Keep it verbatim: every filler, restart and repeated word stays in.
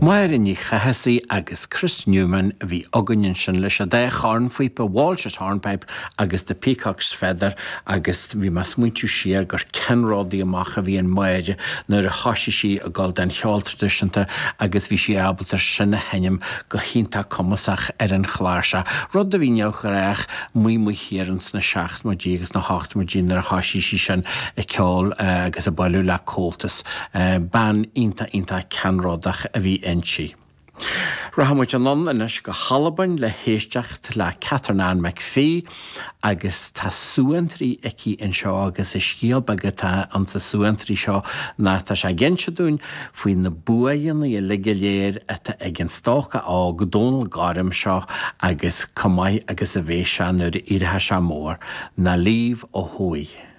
Máire Ní Chathasaigh agus Chris Newman a bhí againn ansin leis an dá chornphíopa Walsh's Hornpipe agus The Peacock's Feather agus bhí mé ag smaointiú siar gur ceannródaí amach a bhí in Máire nuair a thoisigh sí ag dul den cheol traidisiúnta agus bhí sí ábalta sin a sheinm go hiontach cumasach ar an chláirseach. Rud a bhí neamhghnách amuigh amuigh thiar ins na seachtóidí agus na hochtóidí nuair a thoisigh sí sin ag ceol agus ag bailiú le Comhaltas. Bean iontach iontach ceannródach a bhí inti. Rachaidh muid anonn anois go hAlbain le héisteacht le Catherine Ann McPhee agus tá suantraí aici anseo agus is scéal beag atá ansa suantraí seo ná tá sé ag inse dúinn faoi na buanna uilig go léir atá ag an stócach óg Dónal Gorm seo agus chomh maith agus a bheidh sé nuair a éireoidh sé mór, Na Líbh ó thuaidh.